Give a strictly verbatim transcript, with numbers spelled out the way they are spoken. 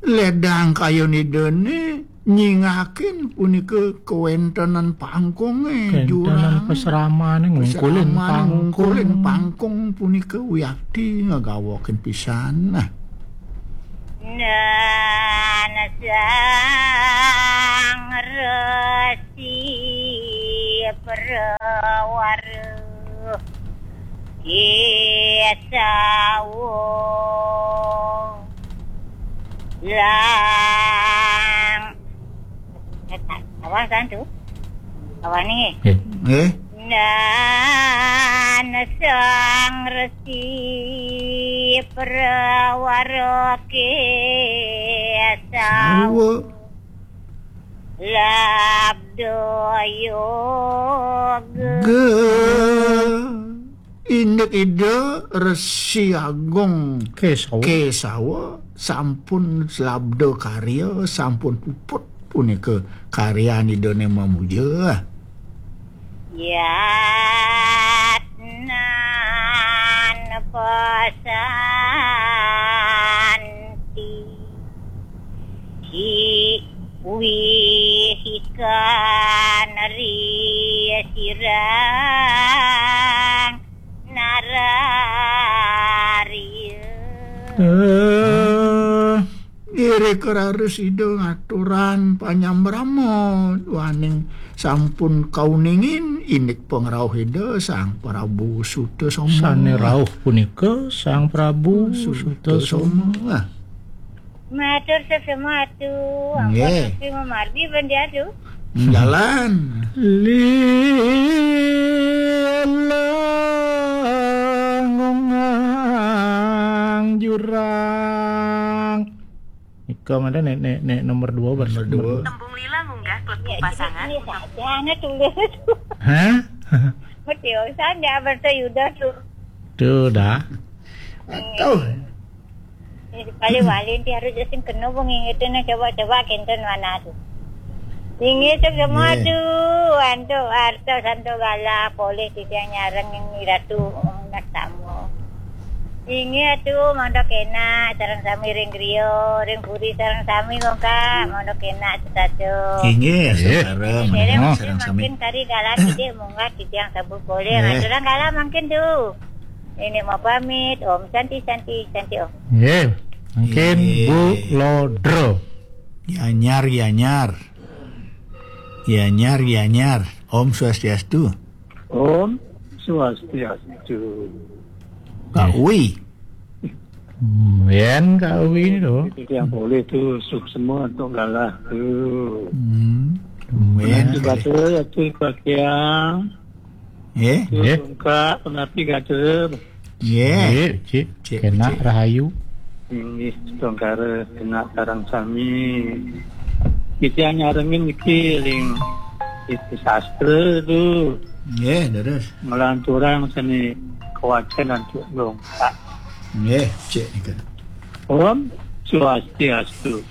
Ledang kayun Idané nyingakin punika kawéntenan pangkungé, kawéntenan jurang. Pasramane ngungkulin pasramane pangkung. Ngungkulin pangkung punika wiakti ngagawokin pisan. Nah. Nan Sang Resi Prawara Kesawa lang. Awas kan tu? Awas ni. Eh. Eh? Nan Sang Resi Prawara Kesawa. Sawa. Labda yoga. Ge. Indik Ida Resi Agung Kesawa. Kesawa sampun labda karya, sampun puput punika karyan Idané mamuja. Yatnan pasanti. Hi wihikan ri sirang nararya. Eh, irika raris Ida ngaturang panyambrama duaning sampun kauningin indik pangrauh Ida Sang Prabu Sutasoma. Sane rauh punika Sang Prabu Sutasoma. Sutasoma. Matur sesama atu, nggih. Ampun Gusti mamargi ben diadu. Jalan. Lilang ngungang jurang. Nika mana nek, nek, nek nomor dua, nomor dua. Tembung lila ngunggah klekuk. Ya, pasangan. Ini saja, anak tulis. Hah? Betul, saya bertayudah tuh. Tuh dah. Tuh. Ini kali wali nanti harus sing kena pengingatan, coba-coba kenten mana tuh. Inggih, semua tuh, antuk artos, antuk galah, polih titiang nyareng ing Ratu, Om Nastamo. Inggih atu, mangda kenak sareng sami ring griya, ring puri sareng sami, Bongkak, mangda kenak setata. Inggih, nggih. Sareng, sareng sami. Mungkin kari galah titik munggah titiang sabu polih. Nggih. Ngaturang galah mangkin tu. Ini mau pamit, Om Santi, Santi, Santi, Om. Nggih, mungkin nggih. Bu Lodro. Yanyar, yanyar. Yanyar, yanyar. Om Swastiastu. Om Swastiastu. Kak Wi. Hmm, yen Kak Wi to. Itu yang boleh tu, suksma untuk galah tu. Hmm. Yen. Nanti baca ya tu pakai. Nggih. Nggih. Bongkak, punapi gatur. Nggih. Nggih, cik. Cik, kenak cik. Rahayu. Inggih, setungkara kenak sareng sami. Kita nyarengin iki ring itu sastra tu. Nggih, terus. Ngelanturang seni kewajiban untuk bongkak. Nggih, cik nika. Om Swastiastu.